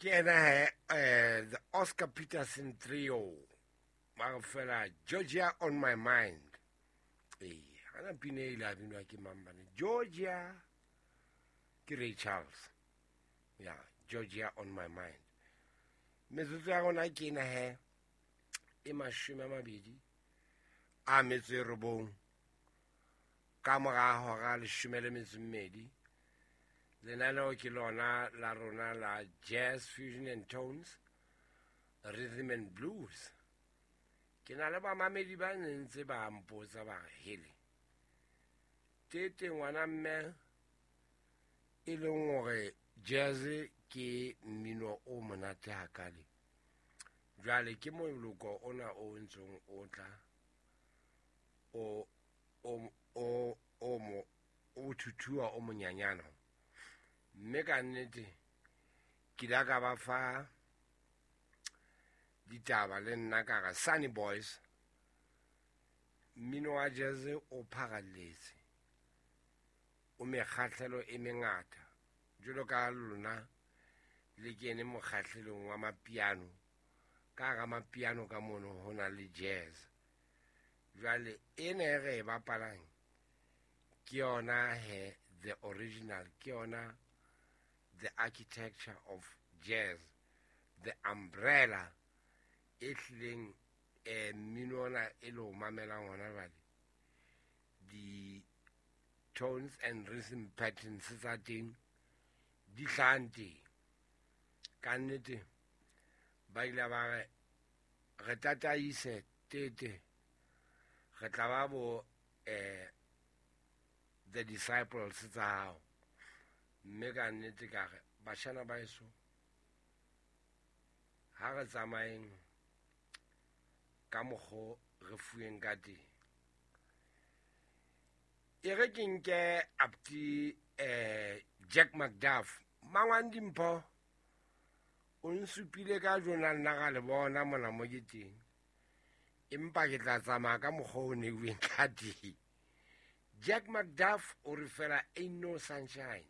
Ke ena he, the Oscar Peterson Trio. Ba re fela Georgia on my mind. Ee, ana pina e ile a binwa ke mang bane? Georgia ke Ray Charles. Ya, Georgia on my mind. Metsotso ya rona ke ena he e 29 ka mora hora 12. Lenaneo ke lona la rona la Jazz Fusion and Tones, Rhythm and Blues. Ke na le bamamedi ba ntse ba mpotsa ba re hele. Tete ngwana mme e leng hore jazz ke mmino o monate hakale. Jwale ke moloko ona o ntsong o tla o o o o mo o thuthua o monyanyana. Mme ka nnete ke ile ka ba fa ditaba le nna ka re Sunny Boys, mmino wa jazz o pharalletse, o mekgahlelo e mengata. Jwalo ka lona le kene mokgahlelong wa mapiano, ka hara mapiano ka mono ho na le jazz. Jwale ena e re e bapalang ke yona he the original, ke yona the architecture of jazz, the umbrella e hlileng mmino ona e le o mamelang hona jwale. Di tones and rhythm patterns tsa teng di hlahang teng. Ka nnete ba ile ba re re tataise tete, re tla ba bo the disciples tsa hao. Mme ka nnete ka re bashana ba eso ha re tsamayeng ka mokgo re fuweng ka teng. E re ke nke apti Jack McDuff. Mangwang Dimpho o nsupile ka jona nna ga le bona mona mo ke teng, empa ke tla tsamaya ka mokgwa o neuweng ka teng. Jack McDuff o re fela ain't no sunshine.